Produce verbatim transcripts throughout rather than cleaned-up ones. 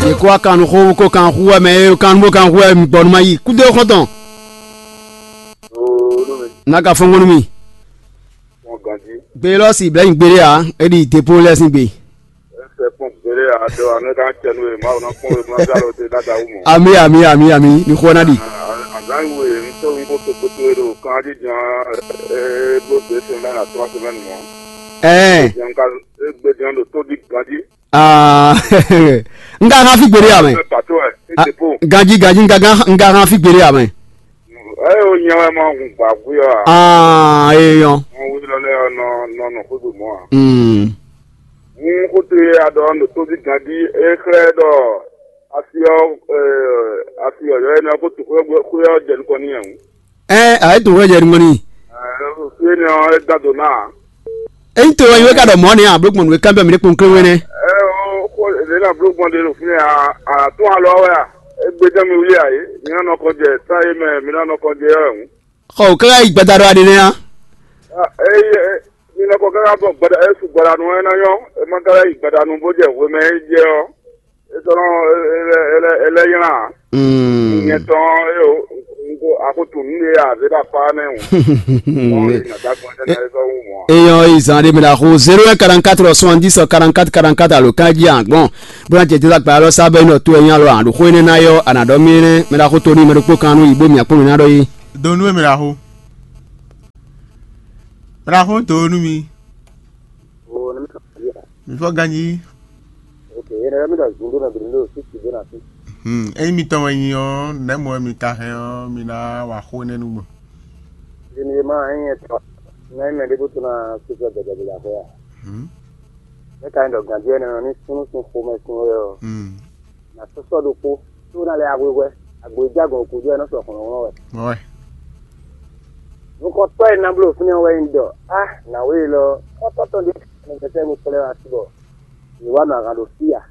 Yě kó wá kan nú xó, bó kó kan xú wɛ mɛ, é kan nú bó kan xú wɛ mi gbɔ nú ma yi. Kúdó xɔ́ntɔn. Ooo, nú mi. N'a ka fɔ́n nú mi. Wọn ganjí. Gbe lɔ si blɛ́ nyi gbeɖé ǎ, é ɖi dépó lɛ́ɛ sín gbe. Ɛsɛ kpɔn gbélé adɔ anɔ ka cɛ nú e Mawu ná kpɔn e má gá lɔ te dáadáa wú mɔ. Ami, ami, ami, ami, mi xɔ ná ɖi. Azán yi wo e ŋutɔ ŋu kó to kpótó e ɖo kan jí ján e bló dé semaine à trois semaines mɔ. Ɛɛ. Ján ka e gbé ján ɖo tó dí ganjí. Aa, n ka hán fí gbeɖé amɛ. Pàtó ɛ, e dépôt. Ganjí, ganjí, n ka hán fí gbeɖé amɛ. Ɛ o nyɛ wɛ ma hun gbǎgbé ɔ́ a? Aa, eyɔn. Wọn wí lɔ lɛ ɔ́ nɔ nɔ nɔ xwé gbe mɔ a? Mm. Hun xóto e a ɖɔ nɔ tóbi ganjí é xlɛ́ ɖɔ asi ɔ́ asi ɔ́ yɔ énɛ́ ɔ́ kó tu xwé ɔ́ jɛ nukɔn n'i ɛ hǔn. Ɛ a é tu xwé jɛ nukɔn n'i. Ɛ fi énɛ́ ɔ́ é dán dǒ ná a? Eyi to wɛ yi wɛ ka ɖɔ mɔ̌ nɛ́ a bló gbɔn nǔ e kanbyɔ́ mǐ ɖé kpɔn klé wɛnɛ. Ɛ o xó lě na bló gbɔn ɖe ɖo fínɛ́ a a tún alɔ wɛ a? Égbé jɛ́n mi wlí a é? Mi ná nɔ kɔn jɛ tá é mɛ mi ná nɔ kɔn jɛ ɔ́ hǔn. Xɔ káká yi gbada ɖɔ aɖe nɛ́ á. Eye mi nɔ kɔ káká bɔ gbada é su gbadanu é ná nyɔ́ é má káká yi gbadanu bó jɛ hwemɛ é jɛ ɔ́ é tɔ́ nɔ é lɛ́ nylá ǎ. Nyɛ tɔn é o nko axutu nǔ ɖe azé ɖo akpá nɛ́ o. Ɔn é nɔ dá gbɔn jɛ ná é sɔ́ wú mɔ̌ ǎ. Eyɔn yi zan ɖe mi ɖo axo zéro un quarante-quatre soixante-dix quarante-quatre quarante-quatre alo kan jí agbɔn bó ná jɛ jɛ agba alɔ sábɛ nɔ tó ɛnyí alɔ aɖo xó énɛ́ ná yɔ anǎ ɖɔ mí énɛ́ mɛ ɖo axo tó ní mɛ ɖokpó kan nú yǐ bó mì akpɔ́n mǐ ná ɖɔ yí. Donu e mɛ ɖo axo. Mɛ ɖo axo donu mi. Oo, ne mi sɔ fia. Mi fɔ ganji. Ok, ene mi ɖɔ zun ɖo nɔ biri ɖo sisi ɖo na fi. Hmm, eyi mi tɔn wɛ nyi ɔ, nɛ mɔ mi ka hɛn ɔ, mi na wa xo ne nu gbɔn. Ɖi mi ma hɛn yɛ tɔ. Na yi mɛ ɖe bo to na sisi gbɛgbɛ ɖe la xɔ ya. Hmm. Ne ka ɖɔ ganji ene nɔ ni sunu sun xomɛ sun wɛ ɔ. Hmm. Na sɔsɔ ɖokpo. Tó ná lɛ ahwehwɛ, agbo e jɛ agɔn gúdo wɛ nɔ sɔ hlɔ̌nhlɔ́n wɛ. Nukɔntɔ́ e ná bló fínɛ́ wɛ nyí ɖɔ á nǎwe élɔ́ xɔ́ntɔ́ tɔn ɖé nɔ gbɛsɛ́ nukplɔ́n wá sí bɔ yě wá nɔ ahan ɖo fí a?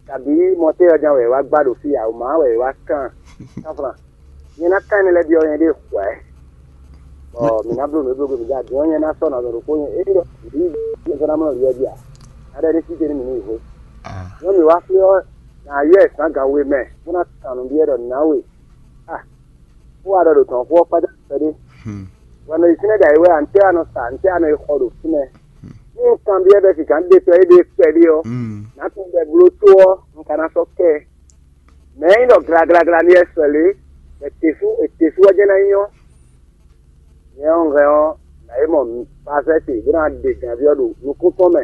Kabǐ mɔtɛ́ ɔ́ ján wɛ yě wá gbá ɖo fí a? Wǒ má wɛ yě wá kán kánflán. Nyɛ ná kán énɛ́ lɛ́ɛ byɔ́ nyɛ ɖée hwɛ̌. Bɔ mǐ ná bló nǔ e bló gbé mǐ dó adǐ ɔ́, nyɛ ná sɔ́ nɔ azɔn ɖokpó nyɛ é ɖɔ mǐ ní yi sɔ́ ná mlɔ́ yɛ jí a? Ná ɖɔ ní sí ce ní mǐ ní yi xwé. Nyɔ̌nu mǐ wá xwé ɔ́, nǎ yɔ ɛ zǎn gan we mɛ, bó ná kan nǔ byɔ́ ɖɔ nǎwe. A, xó wa ɖɔ ɖo dɔ̌n xó ɔ́ kpájá kpɛɖé. Hwɛ̌ nɔ yi fínɛ́ ɖo ayǐ wɛ a? Ntɛ́ a nɔ sa? Ntɛ́ a nɔ yi xɔ ɖo fínɛ́? Ní un kanbyɔ́ bɛ́ sika un ɖe tɔ éɖée kpɛɖé ɔ́, nǎ tunwun bɔ è bló tó ɔ́, un ka ná sɔ́ kɛ ɛ. Mɛ̌ nyí ɖɔ glaglagla ní wɛ sɔ lě, bɔ è te sú è te sú ɔ́ jɛ́n ná nyí ɔ́? Nyɛ ɔ́, un hɛn ɔ́, nǎ yi mɔ pafɛ́ ce bó ná ɖe gǎnví ɔ́ ɖo nukún tɔn mɛ.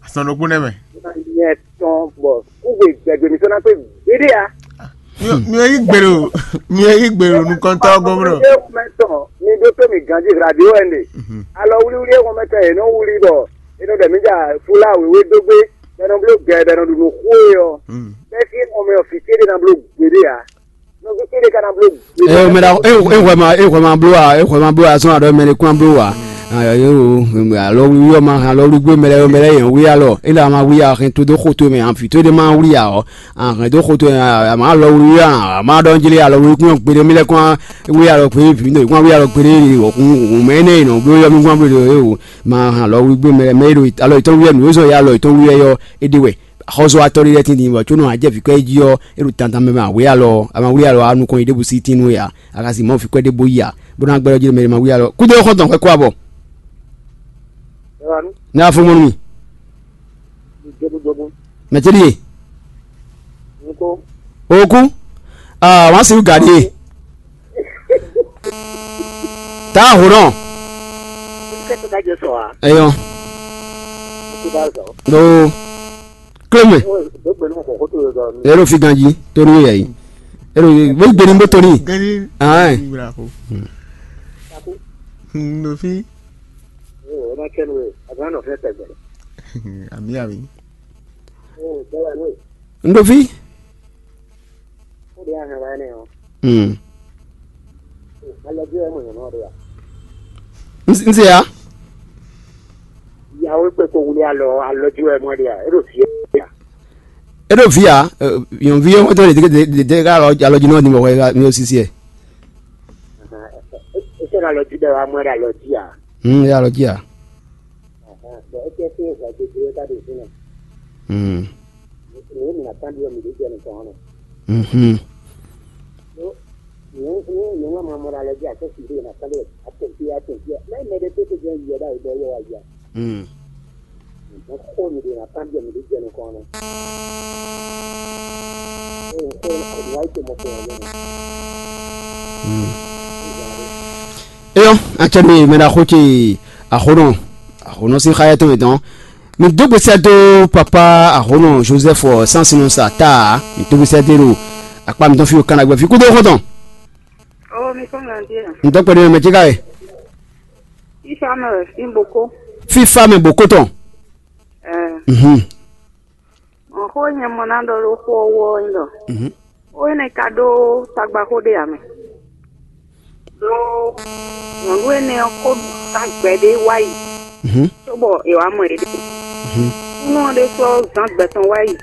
Azɔn ɖokpó nɛ́ mɛ. Bó ná nyɛ tɔn bɔ kúgbe gbɛgbɛ mǐtɔn ná kpé gbeɖé ǎ. Mi ò yí gbèrò, mi ò yí gbèrò nukɔntɔ́ gɔ́mrɔ. Mɛ tɔn mi ɖótó mi ganjí radio wɛ ɖe. Alɔ wlíwlí e xɔmɛ tɔn yě nɔ wlí bɔ è nɔ ɖɔ mǐ ja fúlá wěwé dó gbé, bɔ è nɔ bló gɛ, bɔ è nɔ ɖu nǔ xú é ɔ́. Bɛ́ sí xɔmɛ ɔ́ fǐ céɖé ná bló gbeɖé ǎ. Nɔví céɖé ka ná bló gbeɖé. Ɛ o mɛ ɖa e hwɛ ma e hwɛ ma bló a e hwɛ ma bló a sɔn aɖɔ mɛ ɖé kún bló wa. Ayo alɔ wíwí ɔ́ ma hɛn alɔ wlí gbé mɛ lɛ́ɛ mɛ lɛ́ɛ yɛn wí alɔ é la ma wí a hɛn tó dó xo tó mɛ àfi tó ɖé ma wlí a ɔ́. Ahɛn dó xo towe a ma lɔ wlí a ma ɖɔ jlé alɔ wlí kún gbeɖé mi lɛ kún wí alɔ gbeɖé vi ndo kún wí alɔ gbeɖé hun mɛ énɛ́ yi nɔ bló yɔ mi kún bló yɔ o ma hɛn alɔ wlí gbé mɛ mɛ e ɖo alɔ yětɔn wí wɛ nǔ e zɔn yɛ alɔ yětɔn wí wɛ yɔ é ɖe wɛ xɔzɔ́watɔ́ ɖé lɛ́ɛ tín din bɔ có nɔ ajɛ vǐ kɔ é jí ɔ́ é ɖo dandan mɛ ma wí alɔ a ma wlí alɔ a nukɔn yi ɖěbǔ sí tín nú we a a ka si mɔ fi kwɛ ɖé bó yi a bó ná gbɛɖɔ jí mɛ ma wí alɔ kúdó xɔntɔn xɛ kó abɔ. Ní a fún mɔnú mi. Mɛ tɛ́ ɖíe? Oku. Aa wọ́n á sì gà ɖíe. Tá a hò náà. Ẹyọ. Ɖo. Kílómè. Ẹ ló fi ganjí tó ní yẹ yìí. Ẹ ló gbé ní bó tó ní. Gani. Ayi. Wúra ko. Ndofi. Ẹ má kẹ́nu ẹ̀ àgbà náà fẹ́ tẹ̀gbẹ́. Àmì àmì. Ndofi. Ó di ahàn wá ní o. Hmm. Alɔdzi wɛ mo nyɔnɔ ɖe ya. N se ya. Yawo kpe ko wuli alɔ alɔdzi wɛ mo ɖe ya. E ɖo fie ya. E ɖo vi ya. Yɔn vi yɛ wotɔ de de de ka alɔdzi nɔ ni mɔ wɛ mi o sisi yɛ. E se ka alɔdzi bɛ wa mo ɖe alɔdzi ya. Hmm, e alɔdzi ya. Bɔn e tɛ fi e zɔn gbegbe ka ɖo fi nɛ. Hmm. Yě mǐ ná kán ɖiɖɔ mǐ ɖě jɛ nukɔn ɔ́ nɔ. Mhm. Yě yě yě wá mamɔ ɖo alɔ jí akɔ́ fi ɖé ná kán ɖe atɛnfí atɛnfí. Mɛ mɛ ɖé tó tó jẹ́ yɛ ɖa yě bɔ yɛ wá yá. Mm. Mɛ xó mǐ ɖě ná kán ɖiɖɔ mǐ ɖě jɛ nukɔn ɔ́ nɔ. Xó xó xó wá yí tó mɔ xó wá yɛ nɔ. Mm. Eyɔ́, acɛ mi mɛ ɖaxó ce axonɔ axonɔ sín xá yɛtɔn yětɔn. Mi dó gbèsè dó papa axonɔ Joseph Sansinɔ sa ta. Mi dó gbèsè dé ɖo akpa mi tɔn fi o kan agbɛ fi kúdó xɔtɔn. Oh, mi kɔn ngan dia. Mi tɔn kpɛɖé mɛ mɛ ce ka yɛ. Ifa mɛ wɛ fin boko. Fífa mɛ boko tɔn. Eh. Mhm. Xó e nyɛ mɔ ná ɖɔ ɖó xó ɔ́ wú ɔ́ nyí ɖɔ xó énɛ́ ka ɖó tagbaxó ɖé ǎ mɛ. Ɖó nyɔ̌nu énɛ́ ɔ́ ko zán gbɛ ɖé wá yi, cóbɔ è wǎ mɔ yě ɖe. Kúnɔ ɔ́ ɖésú ɔ́ zán gbɛ tɔn wá yi,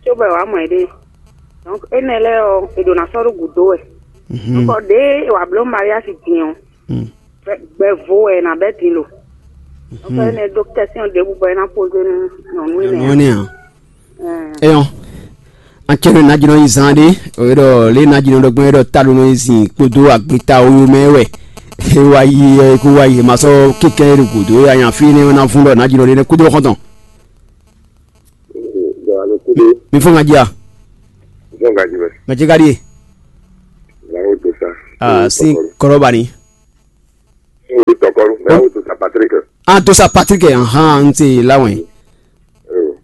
cóbɔ è wǎ mɔ yě ɖe. Donc énɛ́ lɛ́ɛ ɔ́, è ɖǒ ná sɔ́ ɖó gǔdo wɛ. Donc ɖěe è wǎ bló Maria sín din ɔ́, gbɛ vo wɛ è nǎ bɛ́ din lo. Donc énɛ́ ɖó kɛ́syɔn ɖěbǔ bɔ é ná pozé nú nyɔ̌nu énɛ́. Nyɔ̌nu énɛ́ ǎ. Eyɔn, an cɛ nɔ najinɔ yi zan ɖe, o ɖɔ lé najinɔ ɖɔ gbɔn ɖɔ ta ɖo nɔ yi zin kpódó agbeta oyo mɛ wɛ. E wa yi ɛ kó wa yi ma sɔ kíkɛ ɖo gǔdo ya nya fi ne na fún ɖɔ najinɔ ɖe ne kúdó xɔntɔn. Mi fɔ ŋa ji a? Ŋa ji ka ɖi e? Ah, sin kɔrɔ ba ni. Tɔkɔlu, mɛ awo to sa Patrick. Ah, to sa Patrick, ahan, n te la wɛn.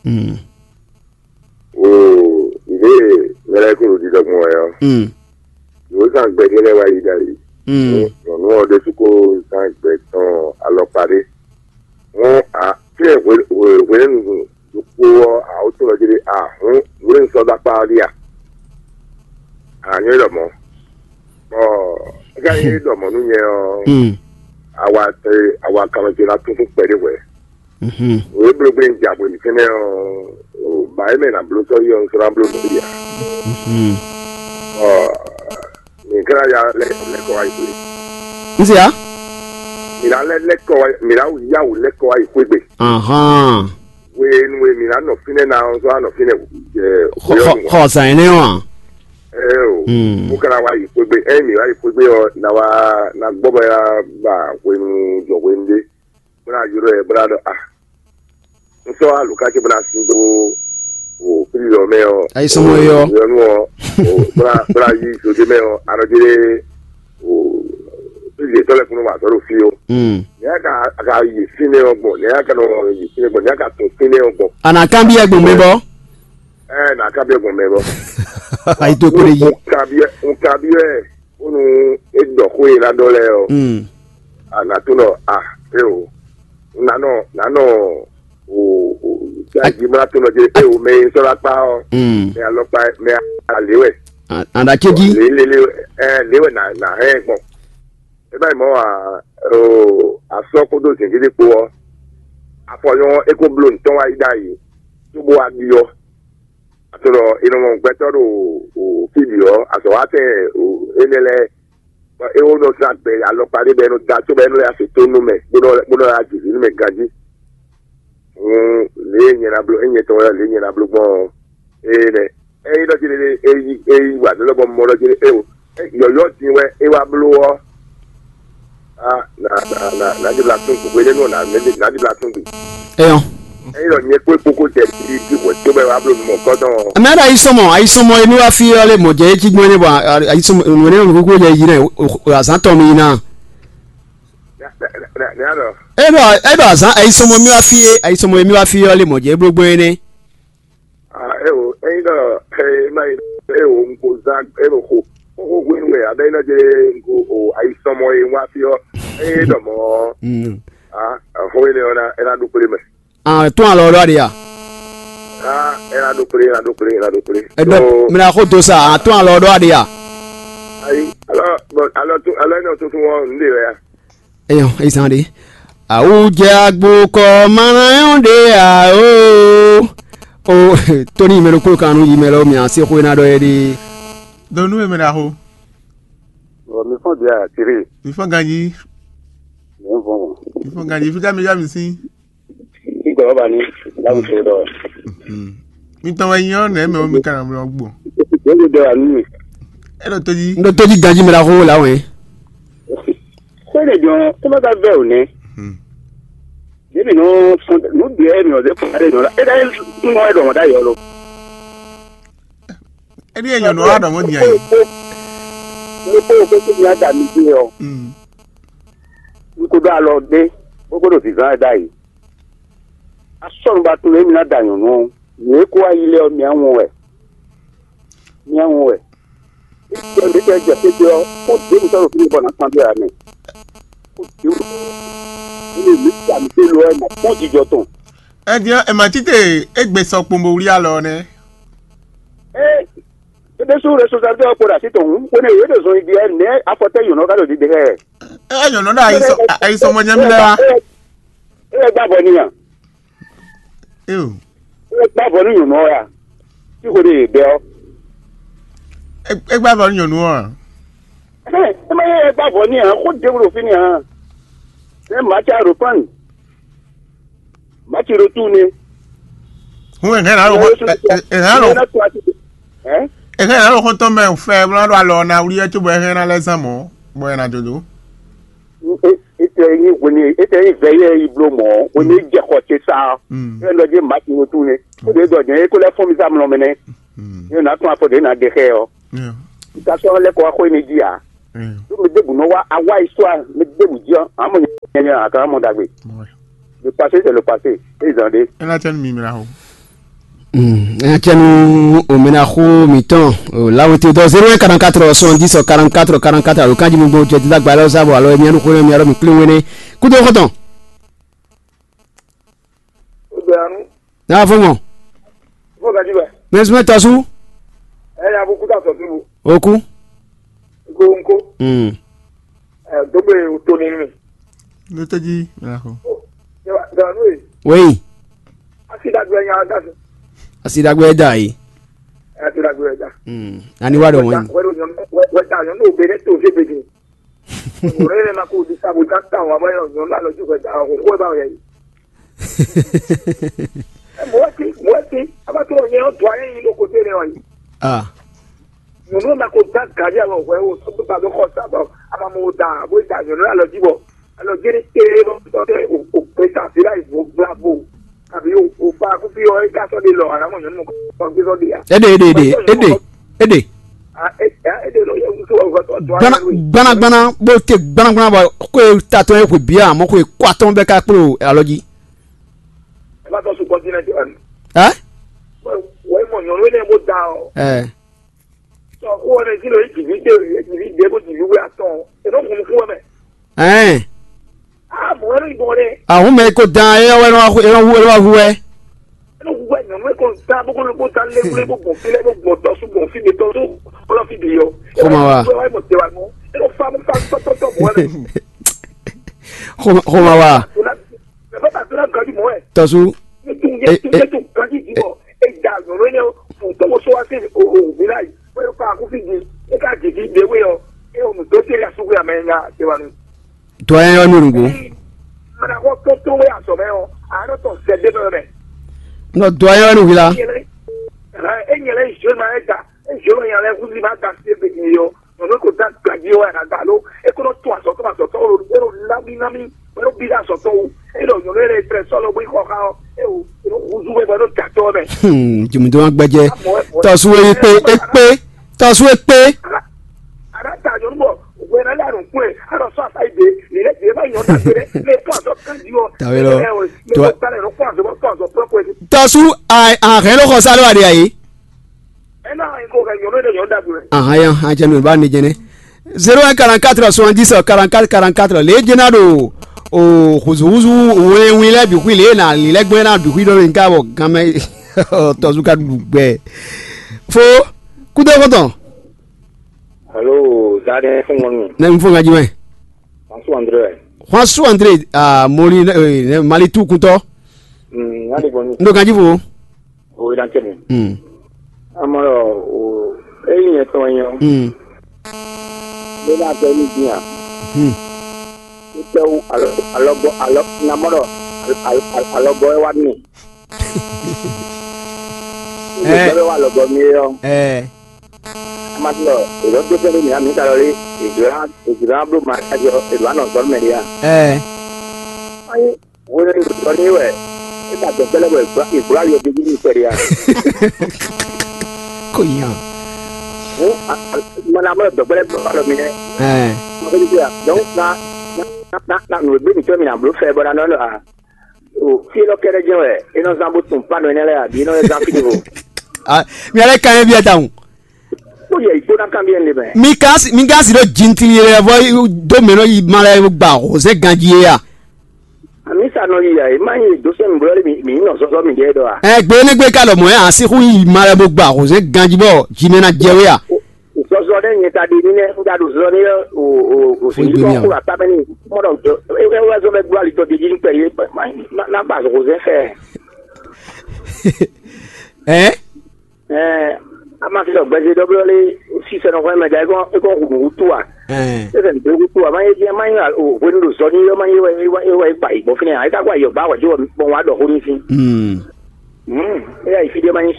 Mm. O, ìdí mɛlɛ kúrò dídɔgbọn wɛ ɔ. Mm. Ìwé kan gbɛdé lɛ wá yí dali. Mm. Nyɔnu ɔ ɖésú kó zán gbɛ tɔn alɔkpa ɖé. Wọn a fí ẹ hwenu ɖokpó ɔ, awotúnɔ jí ɖé a hǔn hwenu sɔ́ dó akpá ɔ́ ɖíe a? Ànyɔ́ ɖɔ mɔ̌. Bɔ é ka nyí ɖɔ mɔ̌ nú nyɛ ɔ́, awa awa kanɔ ce ná tún fún kpɛɖé hwɛ̌. Wěblógbé un ja bwe mǐtɛn mɛ ɔ́, ba é mɛ ná bló sɔ́ yi ɔ́, un sɔ́ ná bló nǔ ya. Ɔ, mǐ ka ná ya lɛ́ lɛ́ kɔ wá yi xwé. Un se ya? Mǐ ná lɛ́ lɛ́ kɔ wá, mǐ ná yá wǔ lɛ́ kɔ wá yi xwé gbe. Ahán. Hwenu e mǐ ná nɔ fínɛ́ ná ɔ́, sɔ́ ná nɔ fínɛ́ jɛ Xɔ xɔ xɔ zan énɛ́ ɔ́ a? Ɛ o, mo ka ná wá yi xwé gbe. Ɛ mǐ wá yi xwé gbe ɔ́, ná wá ná gbɔ bɔ yá ba hwenu jɔ hwenu ɖé. Bó ná ylɔ́ ɛ bó ná ɖɔ a, un sɔ́ alǔká ce bó ná sin dó o fílílɔ mɛ ɔ́. Ayisɔmɔ yɔ. Yɔnu ɔ́, bó ná bó ná yí zodé mɛ ɔ́, anɔ jɛ o fílílɔ tɔ́ lɛ́ kúnú wà tɔ́ ɖo fí ó. Ní a ka a ka yi fínɛ́ ɔ́ gbɔn, ní a ka nɔ yi fínɛ́ gbɔn, ní a ka tún fínɛ́ ɔ́ gbɔn. A nǎ kanbyɔ́ gbɔn mɛ bɔ. Ɛ nǎ kanbyɔ́ gbɔn mɛ bɔ. Ayi tó kplé yí. Un kanbyɔ́ un kanbyɔ́ ɛ. Bónú é ɖɔ xó e ná ɖɔ lɛ́ɛ ɔ́, a nǎ tunɔ a é o, nǎ nɔ nǎ nɔ o o jáde má tunɔ jɛ é o mɛ e sɔ́ ná kpá ɔ́, mɛ alɔkpa mɛ alé wɛ. Àdàcéjì. Lé lé lé ɛ lé wɛ nà nà hɛn gbɔn. É bá yi mɔ a o asɔ kódó zǐngídi kpó ɔ́, afɔ nyɔ é kó bló ntɔ́n wá yi ɖ'ayǐ, cóbó wá ɖi ɔ́. Atlɔ è nɔ mɔ gbɛtɔ́ ɖo fí bǐ ɔ́, azɔ̌watɛn énɛ́ lɛ́ɛ, bɔ é wó nɔ zán gbɛ alɔkpa ɖé bɔ é nɔ da có bɔ é nɔ lɛ́ asi tó nú mɛ, bó nɔ bó nɔ lɛ́ ajǐví nú mɛ ganjí. Hǔn lě e nyɛ ná bló, ényɛ tɔn wɛ lě e nyɛ ná bló gbɔn ɔ́, énɛ́. Ényí ɖɔ jí é yí é yí wǎ nú lɔ bɔ mɔ ɖɔ jí é o, yɔ̌yɔ́ din wɛ é wá bló ɔ́, a nà nà nà nà ɖibla tún gbe hwenɛ́nu ɔ́ nà nà ɖibla tún gbe. Eyɔn. Ényí ɖɔ nyɛ kpó kpókó jɛ ti ti hwɛ tó bɛ wá bló mɔ kɔ́tɔn. Mɛ ɖo ayi sɔmɔ ayi sɔmɔ emi wá fi ɔ́ lé mɔ jɛ etí gbɔn ne bɔ ayi sɔmɔ nǔ ne nǔ kúkú jɛ yi nɛ azán tɔn mi yi ná. Nɛ nɛ nɛ alɔ. E ɖɔ e ɖɔ azán ayi sɔmɔ mi wá fi é ayi sɔmɔ emi wá fi ɔ́ lé mɔ jɛ bló gbɔn é nɛ. Ah, ewo, eyin ɖɔ e ma yi ewo un ko zan e ɖo xo xo hwenu wɛ abe e nɔ dze un ko o ayi sɔmɔ e un wá fi ɔ́, eye ɖɔ mɔ ah xo ene ɔ́ na e na ɖo kplé mɛ. Ah, tún alɔ ɖɔ aɖe ya. Ah, e na ɖo kplé, e na ɖo kplé, e na ɖo kplé. Eɖɔ mina xo do sa, ah, tún alɔ ɖɔ aɖe ya. Ayi, alɔ bon alɔ tún alɔ ene ɔ́ tuntun ɔ́ nu ɖe wɛ ya. Eyɔn, eyi zan ɖe. Awu jɛ agbo kɔ mana yɔn ɖe a o. O Tony mɛ ɖokpó kan nu yi mɛ lɔ mia se xwe na ɖɔ yɛ ɖe. Donu e mɛ na ho. Ɔ mi fɔn dia tiri. Mi fɔn ganji. Mi fɔn. Mi fɔn ganji fi ka mi ya mi si. Igbɔ ba ni lawu to dɔ. Hmm. Mi tɔn wɛ nyí ɔ́, nɛ̌ mɛ ɔ́ mi ka ná blɔ́ gbɔn? Yě ɖo ɖɔ wǎ nú mì. É ɖo tó jí. Un ɖo tó jí ganjí mɛ ɖaxó lá wɛ. Xwé ɖě jɔn, é má ka vɛ ò nɛ́. Hmm. Yě mǐ nɔ sɔn nǔ ɖě mǐ nɔ zé fún ɖé nɔ la. É ɖá tún nɔ é ɖɔ mɔ̌ ɖ'ayǐ ɔ́ lo. É ɖíe nyɔ̌nu ɔ́ wá ɖɔ mɔ̌ din ayǐ. Ní kó o kó tún nya da mi dé ɔ́, Hmm. ní kó ɖó alɔ ɖé, bó kó ɖo vǐván wɛ ɖ'ayǐ. Asɔ́nu ba tunwun émí ná da nyɔ̌nu ɔ́, nǔ e kó wá yi lɛ́ɛ ɔ́, mi á wɔn wɛ. Mi á wɔn wɛ. Ítɔ́ mi tɛ jɛ xwé ɔ́, kó ɖěbǔ sɔ́ ɖo fínɛ́ bɔ nǎ kpan dó ya mɛ. Kó ɖěbǔ. Ní mi ta mi télɔ ɔ́, nǎ kpɔ́n jijɔ tɔn. Ɛ din ɔ́, è ma títè égbé sɔ kpombo wlí alɔ ɔ́ nɛ́. Ée é ɖésú responsablité ɔ́ kpo ɖo así tɔn hǔn, hwenu e yě ɖo zɔn yi ɖi ɛ nɛ̌ afɔtɛ́ yǒnɔ ka ɖo ɖiɖe xá ɛ? É wɛ nyɔ̌nu ɖo ayi sɔ ayi sɔ mɔ nyɛ́mí lɛ́ɛ wá. É wɛ gbá avɔ n'i a? Éo, É wɛ gbá avɔ nú nyɔ̌nu ɔ́ ya? Tí hwenu e yě bɛ ɔ́. É é gbá avɔ nú nyɔ̌nu ɔ́ a? Ɛhɛn, é má yɛ é gbá avɔ n'i ǎ, xó ɖěbǔ ɖo fínɛ́ ǎ. Nɛ̌ Maca ɖo kpán? Maci ɖo túu nɛ́. Hun è hɛn ná ɖo xɔ è hɛn ná ɖo Ɛ? è hɛn ná ɖo xɔtɔn mɛ fɛ bó ná ɖo alɔ ná wlí ɛ cóbɔ è hɛn ná lɛ́ zán mɔ̌ bɔ è nǎ dó dó. Etɛ nyi hwenu etɛ nyi vɛ yɛ yi bló mɔ̌ hwenu e jɛ xɔ ce sa ɔ́. Mm. Ɛ lɔ dzi Maci ɖo túu nɛ́. Ó ɖe dɔ jɛ é kó lɛ́ fɔ́n mi sá mlɔ mɛ nɛ́. Mm. Yóò ná tún afɔ ɖě ná ɖe xɛ ɔ́. Yeah. Ìtàsọ́ lɛ́ kɔ wá xó émí jí ǎ. Yeah. Ɖó mɛ ɖěbǔ nɔ wá awá yi sɔ́ a, mɛ ɖěbǔ jí ɔ́, amɔ nyanya a ka mɔ ɖagbe. Ouais. Le passé, c'est le passé. Ils ont dit. Ela tɛnu mi mira ho. Hmm, nya cɛ nu omena xó mǐtɔn o lawete dɔ zéro un quarante-quatre soixante-dix quarante-quatre quarante-quatre alo kanji mi gbɔn jɛ dídá gbalɛ ɔ́ sábɔ alo emianu xó mi arɔ mi kplé wene kúdó xɔtɔn. Ó bẹ anu. N'a fɔ mɔ. Fo gadi bɛ. Mɛ sumɛ tɔsu. Ɛ ya bu kuta sɔ tubu. Oku. Nko nko. Hmm. Ɛ dogbe o to ni mi. Ló tẹ́jí mìíràn kọ. Dànù yìí. Wéyìn. Asi dàgbé nya dàgbé. Asi dàgbé da yìí. Asi dàgbé da. Hmm. Ani wà dọ̀ wọ́n. Wẹ́dà wẹ́dà wẹ́dà wẹ́dà yọ̀ ní òbí rẹ̀ tó ṣe bèbè. Òwúrọ̀ yẹn na kó o di sábò já tà wọ́n abáyọ̀ yọ̀ ní alọ́jú wẹ́dà ọ̀hún kó ẹ bá wẹ̀ yìí. Ẹ mọ̀ wá sí mọ̀ wá sí abátúrò yẹn ó dùn ayé yìí lóko tẹ́lẹ̀ wọ̀nyí. Ah. Nyɔnu ma ko gán gǎví alɔ hwɛ o, sɔ́ gbégbá dó xɔ sa bɔ ama mo da bó da nyɔnu alɔ jí bɔ alɔ jí ní tée bɔ sɔ́ tɛ o o pe sa sí láì bó gbla bó àbí o o pa kúkú yɔ é ká sɔ́ de lɔ àná mɔ nyɔnu mɔ kọ́ gbé sɔ́ de ya. Éɖe éɖe éɖe éɖe éɖe. A é é de lɔ yɛ wúso wà wúso tó Gbana ayé wé. Gbana gbana bó te gbana gbana bɔ kó e ta tɔn e hwe bia mɔ kó e kó atɔn bɛ ká kplé o alɔ jí. Ẹ bá tọ́ sùn kọ́ntínẹ́ntì wa ni. Ɛ? Wọ́n mọ̀ nyɔnu énɛ́ bó da ɔ. Ɛ. Sɔ kó wọn ti lọ yí jìbí dé yí jìbí dé bó jìbí wé atɔn. Ènó kun kú wọn mɛ. Ɛn. A mọ̀ wẹ́n ló yìnbọn dɛ. Àwọn mɛ kò dan ẹ wá ẹ wá hu ẹ wá hu ẹ. Ènó kun wẹ́ nyɔnu ẹ kò da bó kó ló bó da lé wúlé bó gbọ̀n fílẹ̀ bó gbọ̀n dɔ̀sú gbọ̀n fí mi tọ́ tó kọ́lọ́ fí bì yọ. Kó máa wá. Wọ́n wá mọ̀ tẹ́wàá mọ́. Ènó fa mú fa tọ́tọ́tọ́ mọ́ ẹ. Kó máa wá. Tɔsu. Dɔ yɛ yɔ nugbo. Nɔ dɔ yɛ nu hila. Nyɔnu ko da gbaji wɛ a da lo e ko nɔ to azɔtɔ azɔtɔ o e nɔ lami lami e nɔ bi da azɔtɔ o e nɔ nyɔnu yɛrɛ trɛ sɔlɔ bo yi xɔ xa o e o e nɔ huzu wɛ bɔ e nɔ da tɔ mɛ. Hmm, jumudo ma gbɛjɛ. Tɔsu e kpe e kpe tɔsu e kpe. Ana ta nyɔnu bɔ wɛ na le anu kpe ana sɔ asa yi de ni le de ma nyɔ da gbe ne to azɔ kan di o. Tawe lɔ. Tɔsu a a hɛn lɔ xɔ sa lɔ a de ayi. Ahan ya, an cɛ nu ba ne jɛnɛ. Zéro un quarante-quatre soixante-dix quarante-quatre quarante-quatre le jɛna ɖo o huzu huzu wɛnwin lɛ bi xwi le na li lɛ gbɛn na bi xwi ɖɔ le nka bɔ ganmɛ tɔzu ka ɖu gbɛ. Fo kudo kɔtɔn. Alo, Zadɛ fún ŋɔnu. Ne n fún ŋa jumɛn. François André. François André, ah, Mali, eh, Mali tu kuntɔ. Hmm, ŋa de gbɔnu. Ndo ganji fo. O yi dan tɛmɛ. Hmm. Amɔlɔ o eyi nyɛ tɔn yɔ. Hmm. Bɛ na bɛ ni diya. Hmm. Tɛwu alɔ alɔgbɔ alɔ namɔlɔ alɔgbɔ wa ni. Ɛ. Gbɛ́ wa lɔbɔ mi é ɔ́. Ɛ. Amatɔ, èló tó fɛn mǐ amǐ ka lɔ lé, èdó ná èdó ná bló ma kájọ, èdó ná nɔ zɔn mɛ ɖé a? Ɛ. Ayi, wo ne zɔn ní wɛ, é ka dɔn gbɛlɛ wɛ, ègbó ayɔ gbégbé ní kpɛɖé a? Kò yàn. Mana mɔ dɔn gbɛlɛ bɔ alɔ mi nɛ. Ɛ. Donc na na na na nǔ e gbé mǐtɔn mi na bló fɛ bɔ na nɔ a? O fí élɔ́ kɛ́ɖɛ́ jɛ́n wɛ é nɔ zán bó tunwun pánɔ énɛ́ lɛ́ɛ abǐ é nɔ lɛ́ zán fí ɖěvo? Ah, mi alɛ kan yɛ biɛ tawun. Kpó yɛ yi kpó ná kanbyɔ́ nɖé mɛ. Mi ka si mi ka si ɖo jintili yɛ vɔ do mɛ nɔ yi ma lɛ gba hozɛ ganji yɛ ya. Ami sa nɔ yi ya, e ma yi do sɛ mi blɔ mi mi nɔ zɔzɔ mi ɖe dɔ a? Ɛ gbe ne gbe ka lɔ mɔ ya si hu yi ma lɛ bo gba hozɛ ganji bɔ ji mɛ na jɛ we ya. Zɔzɔ ɖe nyɛ ta ɖe ní nɛ un ɖa ɖo zɔ ní o o o Fún si ìgbé kɔ mi kó ata mɛ ní mɔ ɖɔ e wɛ zɔ mɛ gbɔ ali tɔ ɖe jí ní pɛ yé na ba hozɛ fɛ. Ɛ. Ɛɛ, a ma fi ɖɔ gbɛzɛ ɖɔ blɔ lé sísɛ nɔ xɔmɛ da é kɔn é kɔn hu nǔ wútu a? Ɛɛ. Sísɛ nǔ wútu a ma yé dín a ma nyí o hwenu ɖo zɔ ní yɔ ma yé wɛ é wɛ é kpa yi gbɔn fínɛ́ a é ka kó ayɔ ba wɛ tí wɔ kpɔn wa ɖɔ xó ní fín. Hmm. Hmm. É yà yi fí ɖé ma nyí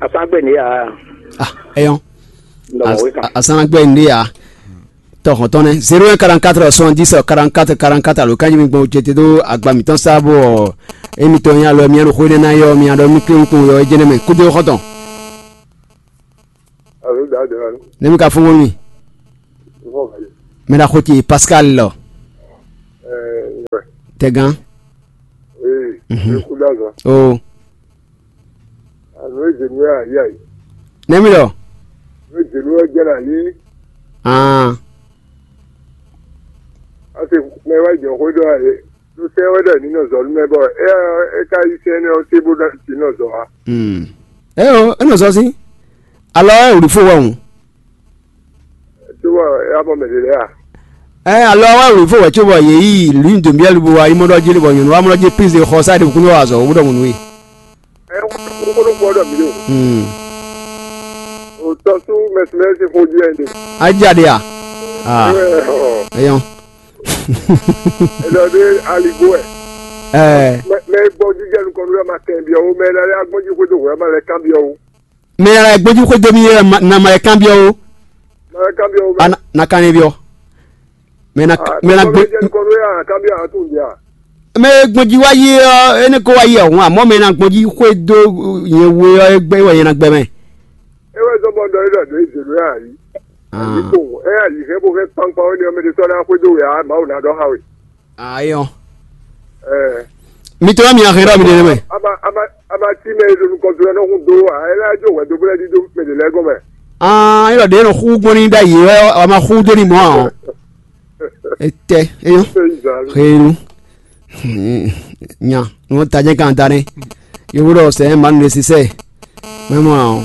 asán gbɛ ní a. Ah, eyɔn. Ndɔ wɔ wé kan. Asán gbɛ ní a. Tɔ hɔn tɔn nɛ zéro un quarante-quatre soixante-dix quarante-quatre quarante-quatre alo kanji mi gbɔn jete ɖó agba mǐtɔn sá bɔ émi tɔn nyí alɔ mi ɖo xó énɛ́ ná yɔ mi ɖɔ mi kpé kpó yɔ é jɛnɛ mɛ kúdó xɔtɔn. Alo da de la. Ne mi ka fɔn mi. Fɔn ka ye. Mɛ na xoti Pascal lɔ. Ɛɛ. Tɛgan. Ee. Mhm. Kúdó azɔ. O. Alo e jenu ya ya yi. Ne mi lɔ. E jenu ya jɛ la yi. Ah. Ase mɛ wa jɛ xó dɔ ye. Ɖo sɛ wɛ ɖɔ ní nɔ zɔ nú mɛ bɔ é é ka yi sɛ énɛ́ ɔ́ cé bó ná ti nɔ zɔ wá. Hmm. Ɛ o, é nɔ zɔ sí. Alɔ ɛ wlǐ fó wɛ hǔn. Cóbɔ é wá mɔ mɛ ɖě lɛ́ɛ a? Ɛ alɔ wɛ wlǐ fó wɛ cóbɔ yě yi lǔnyi dǒmbiɛ́lu bó wá yi mɔ ɖɔ jí lé bɔ nyɔ̌nu wá mɔ ɖɔ jí píze xɔ sá ɖě kúndé wá azɔ̌ wó ɖɔ mɔ̌ nú we. Ɛ kókó kpɔ ɖɔ mǐ ɖo. Hmm. O tɔ sú mɛsumɛsi xó jí ɛnɛ. Ajaɖe a? Ah. Ɛ ɔ. Eyɔn. Elɔ ɖe aligo ɛ. Ɛɛ. Mɛ mɛ gbɔ jíjɛ nukɔn nú ma kɛ biɔ wo mɛ lɛ agbɔn jí xwedó hwɛ ma lɛ kan biɔ wo. Mɛ lɛ gbɔn jí xwedó mi yɛ na ma lɛ kan biɔ wo. Ma lɛ kan biɔ wo. A na kan ne biɔ. Mɛ na mɛ na gbé. Jíjɛ nukɔn nú ya kan biɔ a tún biɔ. Mɛ gbɔn jí wá yé ɔ, énɛ́ kó wá yé ɔ̀hún àmọ́ mɛ na gbɔn jí xwedó yẹn we ɔ, é gbɛ wɛ yẹn na gbɛ mɛ. É wɛ zɔ́n bɔ ɖɔ é ɖɔ nǔ e zě nú ɛ ǎ yí. Yǐkpo ɛ yǐ hɛn bó hɛn kpankpan wɛ ní ɔmɛ ɖé tɔ́ ná xwedó wɛ ǎ, Mawu ná ɖɔ xá we. Ayɔ. Ɛ. Mi tɔ́ mi ahɛn ɖɔ mi ɖe mɛ. Aba aba aba tí mɛ e ɖo nukɔn do ɛ nɔ hun do ǎ, ɛ lɛ́ jó hwɛ dó bó lɛ́ ɖídó mɛ ɖě lɛ́ɛ gɔ́n mɛ. Ah, é ɖɔ ɖě nɔ xú gbɔn ní ɖ'ayǐ wɛ a ma xú dó ní mɔ̌ ǎ. Etɛ eyɔn. Henu. Nya nɔ tajɛ kan ta nɛ. Yovo ɖɔ sɛ ma nu sisɛ. Mɛ mɔ ɔ.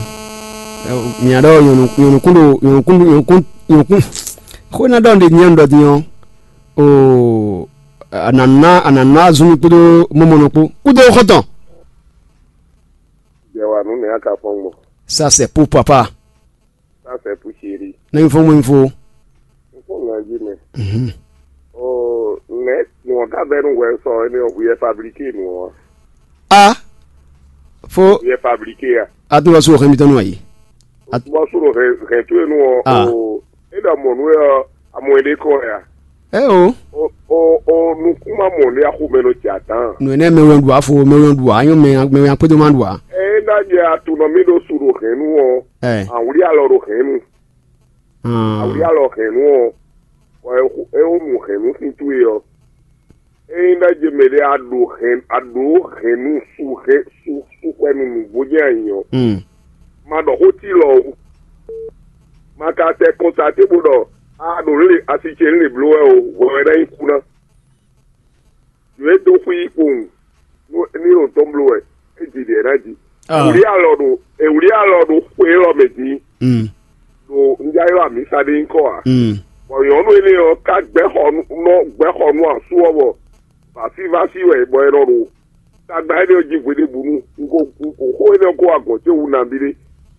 Mia ɖɔ nyɔnu nyɔnu kun ɖo nyɔnu kun ɖo nyɔnu kun nyɔnu kun. Xó ná ɖɔ ɖe nyɔnu ɖɔ din ɔ. O anana anana zunu kpódó mɔmɔnɔ kpó kúdó xɔtɔn. Yɛ wa nú nɛ aka fɔn gbɔ. Ça c'est pour papa. Ça c'est pour chéri. Ne mi fɔn mo info. N fɔn ŋa jí mɛ. Mhm. O nɛ nɔ ka bɛ nu wɛ sɔ ene o hu yɛ fabriqué nu ɔ. A. Fo. Hu yɛ fabriqué a. A tún lọ sún òkè mi tɔn nù ayi. Bɔ sún o hɛn hɛn tó enu ɔ. Ah. O e ɖɔ mɔ nu ɔ amɔ ene kɔ ya. Ɛ o. O o o nukún ma mɔ ne axo mɛ nɔ jɛ adán. Nù ɛnɛ mɛ wɛn ɖu afo mɛ wɛn ɖu anyɔ mɛ mɛ wɛn akpédó ma ɖu a. Eye ná jɛ atunɔ mi ɖo su ɖo hɛn nu ɔ. Ɛ. Awuli alɔ ɖo hɛn nu. Awuli alɔ hɛn nu ɔ. Bɔ e xo e wo nu hɛn nu sin towe ɔ. Eye ná jɛ mɛ ɖe aɖo hɛn aɖo hɛn nu su hɛn su su xwɛ nu nu bó jɛ anyi ɔ. Ma ɖɔ xó ti lɔ o. Ma ka sɛ kɔntate bó ɖɔ a ɖo lě asi ce lě bló wɛ o, hwɛ wɛ ná nyí kú ná. Nǔ e dó xwí kpowun ní ɖo tɔn bló wɛ, é ji ɖě ná ji. Ewlí alɔ ɖo ewlí alɔ ɖo xwe élɔ́ mɛ din. Ɖo un já ylɔ́ amǐsa ɖé nyí kɔ ǎ. Bɔ nyɔ̌nu énɛ́ ɔ́ ká gbɛ́ xɔ nú gbɛ́ xɔ nú asú ɔ́ bɔ vǎsívásí wɛ bɔ è nɔ ɖo tagba énɛ́ ɔ́ jí hweɖěbǔnu. Un ko un ko xó énɛ́ ɔ́ kó wá gɔ̌n ce wú nabí ɖé.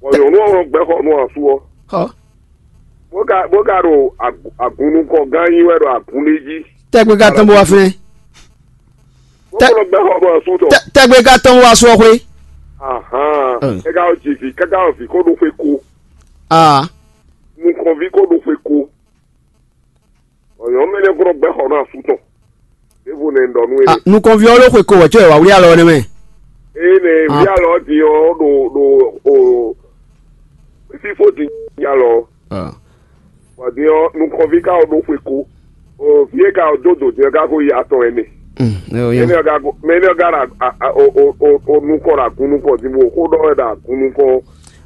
Bɔ nyɔ̌nu ɔ́ nɔ gbɛ́ xɔ nú asú ɔ́. Bó ka bó ka ɖo agun nukɔn gán nyi wɛ ɖo agun ɖé jí. Tɛgbɛ ka tɔn bó wá fɛn. Bó kó nɔ gbɛ́ xɔ nú asú tɔn. Tɛgbɛ ka tɔn bó wá sɔ xwé. Ahan. Káká ɔ ji vǐ, káká ɔ vǐ ko ɖo xwe ko. Ah. Nukɔnví ko ɖo xwe ko. Ɔyɔn mɛ nɛ gblɔ gbɛ xɔ nɔ asu tɔn. Ɖěvo nɛ ɖɔ nú. Ah, nukɔnví ɔ́ ló xwe ko wɛ cɔ ɛ wá wlí alɔ nɛ mɛ. Eye nɛ wlí alɔ din ɔ ɖo ɖo o fífó din alɔ. Ah. Bɔ din ɔ nukɔnví ka ɔ ɖo xwe ko. O fie ka ɔ dó dò din ɔ ka ko yi atɔn ɛnɛ. Mm, ɛ o yɛn. Mɛ nɛ ɔ ka ko mɛ nɛ ɔ ka ɖa o o o o nukɔ ɖa gun nukɔ din bo xó ɖɔ wɛ ɖa gun nukɔ.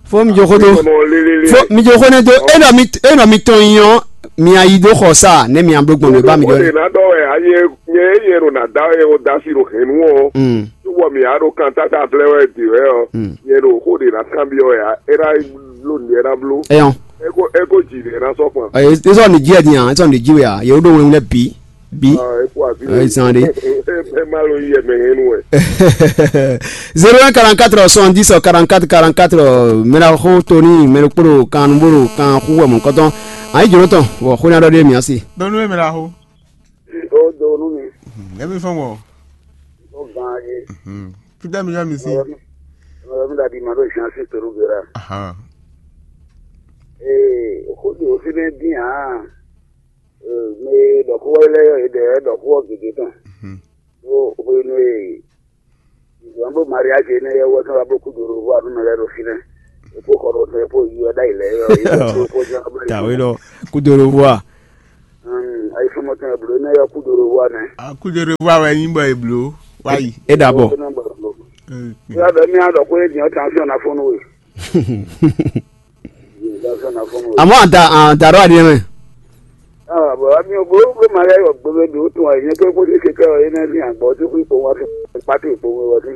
Fó mi jo xó dó. Fó mi jo xó nɛ dó. Enɔ mi enɔ mi tɔn nyi ɔ́, mi ayi dó xɔ sa nɛ mi abló gbɔn mi ba mi dó. Xó ɖe ná ɖɔ wɛ anyɛ nyɛ nyɛ ɖo ná da wɛ o da si ɖo hɛn nu ɔ. Mm. Tó bɔ mi a ɖo kan tata flɛ wɛ di wɛ ɔ. Mm. Nyɛ ɖo xó ɖe ná kan bi ɔ ya e ná bló nǔ e ná bló. Eyɔn. E ko e ko ji ɖe ná sɔ kpan. Ɛ esɔ ni ji ɛ di yan esɔ ni ji wɛ ya yewo ɖo wɛn lɛ bi. Bi. Ɛ zan de. Ɛ ma lo yi ɛmɛ hɛn nu wɛ. Zéro un quarante-quatre soixante-dix quarante-quatre quarante-quatre mɛɖaxó tóní mɛɖokpóɖo kan nubóɖo kan xú wɛ mɔ̌kɔtɔn. Ayi jǒnɔ tɔn wɔ xó nya ɖɔ ɖé mǐ asi. Donu e mɛ la xo. O do nu mi. Emi fɔn wɔ. O gan ye. Fita mi yɔ mi si. Ɔyɔ mi da di ma ɖo zan si toru gera. Ahan. Ee, o xo di o fi ne din a. Mɛ e ɖɔ xó ɔ́ lɛ́ɛ ɔ́, è ɖɔ ɛ ɖɔ xó ɔ́ gěgé tɔn. Ɖó hwenu e zɔ̌n ɖo mariázi énɛ́ ɔ́ wɛ tɔn wá bló kúdoro vɔ anú mɛ lɛ́ɛ ɖo fínɛ́. È kó xɔ ɖo tɔn è kó yi ɔ́ ɖ'ayǐ lɛ́ɛ ɔ́, è kó kó jɛ ná bló. Tawé ɖɔ kúdoro vɔ a? Ayisɔmɔ tɔn è blǒ énɛ́ ɔ́ kúdoro vɔ nɛ́. Kúdoro vɔ wɛ nyí bɔ è blǒ wá yi. É ɖa bɔ. Yá bɛ mí á ɖɔ xó é din ɔ́, tansiɔn ná fɔ́n nú we. Àmọ́ àdá àdá rɔ àdìyẹ mɛ. Bɔn mi ò gbó gbé ma yá yɔ gbé bɛ dòó tún àyè nyɛ pé kó dé keke ɔ yé nɛ ní àgbọ̀ tó kú ipò wọn fi pàtó ipò wọn wọ sí.